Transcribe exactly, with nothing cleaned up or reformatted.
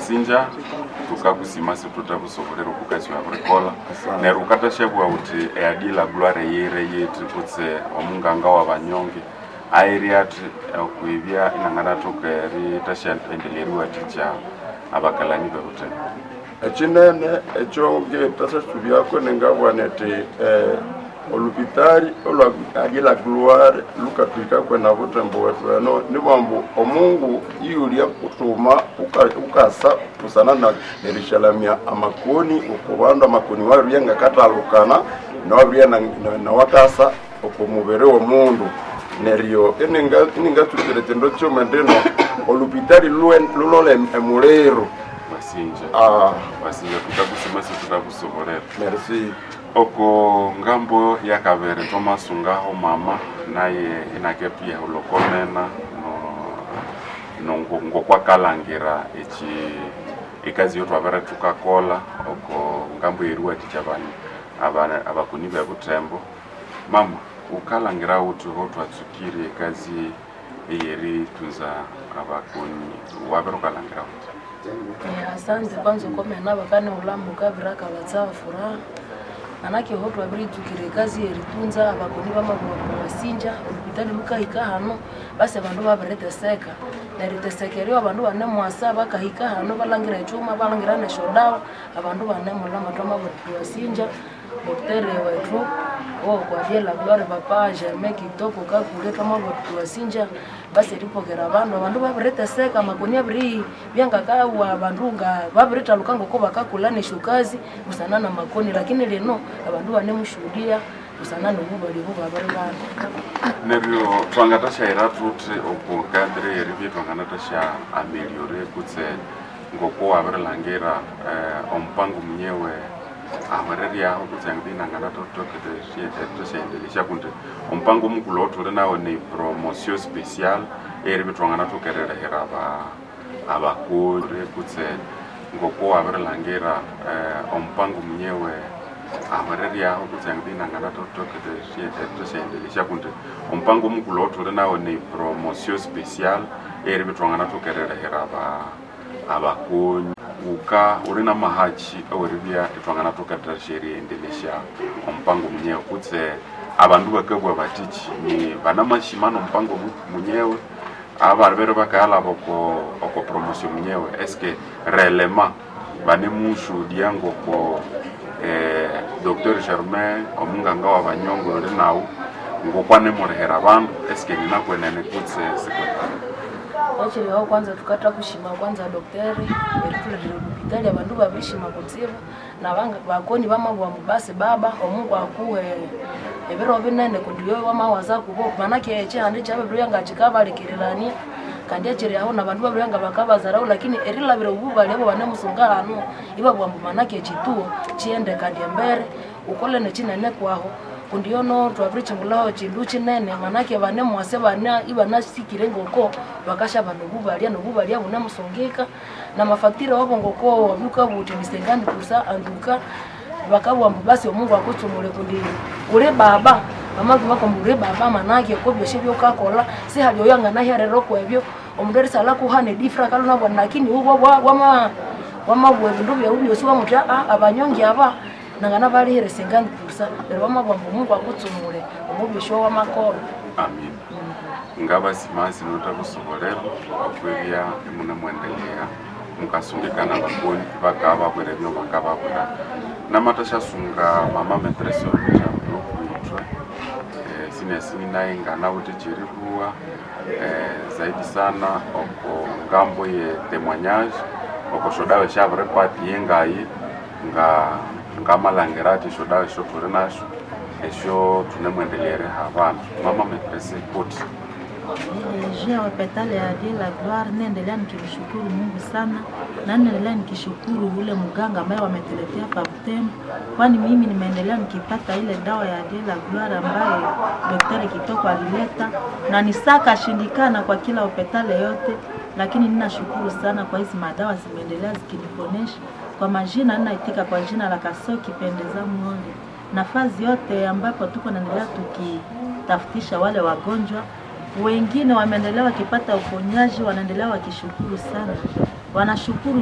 Wasinja, tukakusima situtakusobolera okukasi wabirikola. Neryo ukatashabwa uthi eadi la gloire yire yithi kutse omunganga wabanyonge airi athi okwibya inanganathoka eritasyaendelea eriwathikya abakalani bebutembo. Ekinene ekyo ngetasasubyako ningabugha nethi eh, olupitali olwa Adie la Gloire lukatwikako na Butembo wetu eno nibwambu omungu iyulya kutuma uka- ukasa busana na nerishalamya amakoni oku bandu amakoni wabirya ngakatalukana nawabirya nawakasa oku mubiri w'omundu. Neryo ininga- iningatsukira ekindu kyuma ndino olupitali lulwe- lulole emuliro. Wasinja. Ah, wasinja, tukakusima situtakusobolera. Merci. Oko ngambo yakabere tomasungaho mama naye inakepia ulokomena no no ngokwakalangira echi ekazi yo twabere tukakola oko ngambo yeriwathikya abani aba- abakoni bebutembo. Mama, ukalangira uthi ho twatsukire ekazi eyeritunza abakoni, wabere ukalangira uthi? Eh, asante kwanza ukomena bakane ulamuka biraka batsa furaha, manake ho twabiritsukire ekazi yeritunza abakoni bamabuwa wasinja olupitali lukahika hano, basi abandu babiriteseka neriteseka eryo abandu banemwasa bakahika hano balangira echuma balangira nesyodawa abandu banemulama. Twamabwira wasinja doktere wetu okwadie la gloire papa Germain Kitoko Kakule, twamabwira wasinja basi eripokera abandu abandu babiriteseka amakoni abiri byangakawa abandu nga babiritaluka ngoko bakakula nesyokazi busana na makoni, lakini lino abandu banemushuhudia busana nobubali obu babiri bana. Neryo twangatasyaira thuthi oku cadre yeribya twanganatasya ameliore kutse ngoko wabirilhangira eh, omupango munyewe ahwereryaho kutse inanganatosyaendelesya kundi omupango mukulhu othuli nawo ni promotion special eyeribya twanganathokeririlehera aba abakoni kutse ngoko wabirilhangira eh, omupango munyewe ahwereryaho kutse inanganatosyaendelesya kundi omupango mukulhu othuli nawo ni promotion special eyeribya twanganathokeririlehera aba abakoni. Uka uli na mahachi aweribya itwanganathoketasya eriendelesya omupango munyewe kutse abandu bakabugha batiki ni banamashima nomupango mu- munyewe abalibere bakayalaba oko oko promotion munyewe, eske réellement banemushuhudia ngoko eh, Docteur Germain omunganga wa banyongo uli nawu ngokwanemulihera abandu, eske ninakwenene kutse sikwenene? Ekiriho kwanza tukatha kushima kwanza dokteri eritulethera olupitali, abandu babirishima kutsibu nabanga bakoni bamabugha ambu basi baba omungu akuhe ebiro binene kundi yoyo wamawaza kubo, manake ekihanda kyababiribya nga kikabalekererania kandi ekiri aho nabandu babiribya nga bakabazaraho, lakini erilabira obubali abo banemusunga hano ibabugha ambu manake ekituo kighende kandi embere ukole nekinene kwaho kundi yono twabirikyingulhaho kindu kinene, manake banemwase bana ibanasikire ngoko bakasha nobubalya nobubalya bunemusungika namafacture wabo ngoko wabyuka buthi ni cinquante pour cent anduka bakabugha ambu basi omungu akutsumule kundi uli baba bamabwira kumbu uli baba, manake ko byosi byokakola sihali oyo anganaherera okwebyo omundu erisalha kuhana edifra kalunabwana, lakini uwo wama wamabugha ebindu byawu byosi wamuthi aa abanyongi aba nangana balihire cinquante pour cent neryo bamabugha ambu omungu akutsumule omu byosi wamakolha. Amin, ngabasimansi notakusobolera okwibya imunemwendelea mukasungikana bakoni bakababwira ebyo bakababwira namatashasunga mama maîtresse okwithwe eh, sinesini naye nganawithe kyeribuwa eh, zaidi sana oko ngambo ye témoignage oko syodawa syabiripati yengayi nga ngamalhangira athi esyodawa esyo thuli nasyo esyo thunemwendelea eriha abandu. Mama maîtresse kuti? Juu ya hopitali ya Dieu la Gloire, naendelea nikimshukuru Mungu sana na naendelea nikishukuru ule mganga ambaye wametuletea hapa Butembo, kwani mimi nimeendelea nikipata ile dawa ya Dieu la Gloire ambaye Daktari Kitoko alileta na nisaka shindikana kwa kila hopitali yote, lakini ninashukuru sana kwa hizi madawa zimeendelea zikiniponesha. Kwa majina ninaitika kwa jina la Kasoki Pendeza Mwole. Nafasi yote ambapo tuko naendelea tukitafutisha wale wagonjwa wengine wameendelea wakipata uponyaji, wanaendelea wakishukuru sana, wanashukuru.